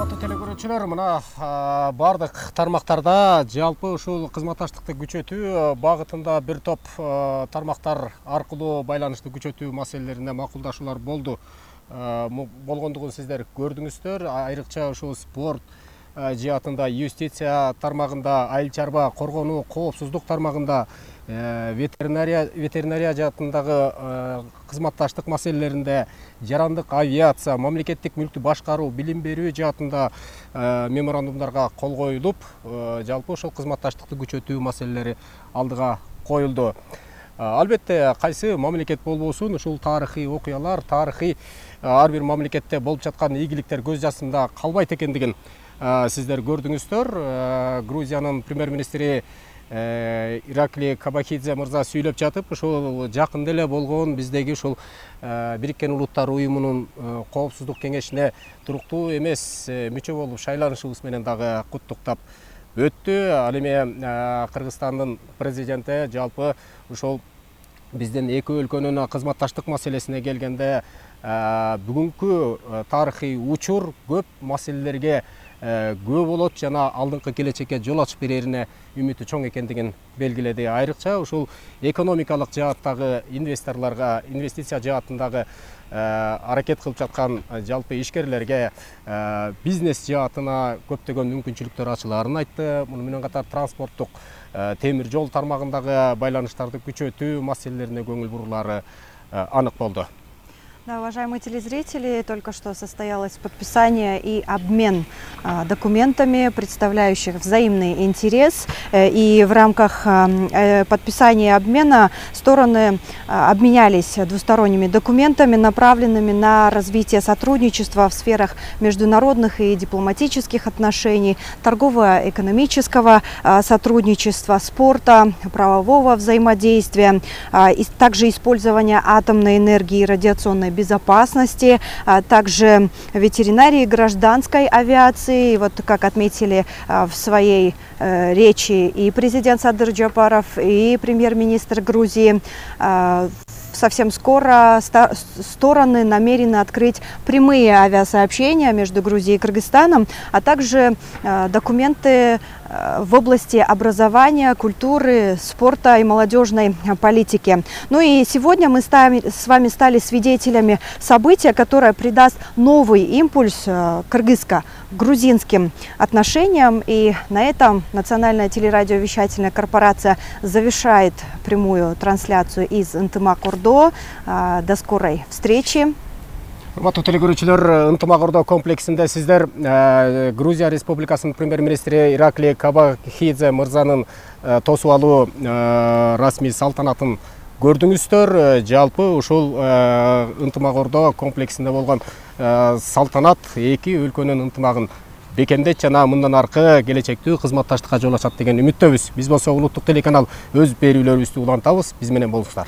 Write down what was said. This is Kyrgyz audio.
Урматтуу телекөрүүчүлөр, мына бардык тармактарда жалпы ушул кызматташтыкты күчөтүү багытында бир топ тармактар аркылуу байланышты күчөтүү маселелерине макулдашуулар болду. Болгондугун сиздер көрдүңүздөр. Айрыкча ушул спорт жаатында, юстиция тармагында, айыл чарба коргонуу, коопсуздук тармагында, ветеринария жаатындагы кызматташтык маселелеринде, жарандык авиация, мамлекеттик мүлктү башкаруу, билим берүү жаатында меморандумдарга кол коюлуп, жалпы ошол кызматташтыкты күчөтүү маселелери алдыга коюлду. Албетте, кайсы мамлекет болбосун, ушул тарыхый окуялар, тарыхый ар бир мамлекетте болуп жаткан ийгиликтер көз жасында калбайт экендигин сиздер көрдүңүздөр. Грузиянын премьер-министри Ираклий Кабахидзе мырза сүйлөп жатып, ушул жакында эле болгон биздеги ушул Бириккен Улуттар уюмунун коопсуздук кеңешине туруктуу эмес мүчө болуп шайланышыбыз менен дагы куттуктап өттү. Ал эми Кыргызстандын президенти жалпы ушул биздин эки өлкөнүн кызматташтык маселесине келгенде бүгүнкү тарыхый учур көп маселелерге күбө болот жана алдыңкы келечекке жол ачып берерине үмүтү чоң экендигин белгиледи. Айрыкча ушул экономикалык жааттагы инвесторлорго, инвестиция жаатындагы аракет кылып жаткан жалпы ишкерлерге бизнес жаатына көптөгөн мүмкүнчүлүктөр ачылаарын айтты. Муну менен катар транспорттук темир жол тармагындагы байланыштарды күчөтүү маселелерине көңүл бурулары анык болду. Да, уважаемые телезрители, только что состоялось подписание и обмен документами, представляющих взаимный интерес. И в рамках подписания и обмена стороны обменялись двусторонними документами, направленными на развитие сотрудничества в сферах международных и дипломатических отношений, торгово-экономического сотрудничества, спорта, правового взаимодействия, и также использования атомной энергии и радиационной безопасности, также ветеринарии, гражданской авиации. Вот как отметили в своей речи и президент Садыр Джапаров, и премьер-министр Грузии, совсем скоро стороны намерены открыть прямые авиасообщения между Грузией и Кыргызстаном, а также документы в области образования, культуры, спорта и молодежной политики. Ну и сегодня мы с вами стали свидетелями события, которое придаст новый импульс кыргызско-грузинским отношениям. И на этом Национальная телерадиовещательная корпорация завершает прямую трансляцию из Ынтымак-Ордо. До скорой встречи. Урматтуу телекөрүүчүлөр, Ынтымак-Ордо комплексинде сиздер Грузия Республикасынын премьер-министри Ираклий Кабахидзе мырзанын тосуп алуу расмий салтанатын көрдүңүздөр. Жалпы ушул Ынтымак-Ордо комплексинде болгон салтанат эки өлкөнүн ынтымагын бекемдейт жана мындан аркы келечектүү кызматташтыкка жол ачат деген үмүттөбүз. Биз болсо улуттук телеканал өз берүүлөрүбүздү улантабыз. Биз менен болуңуздар.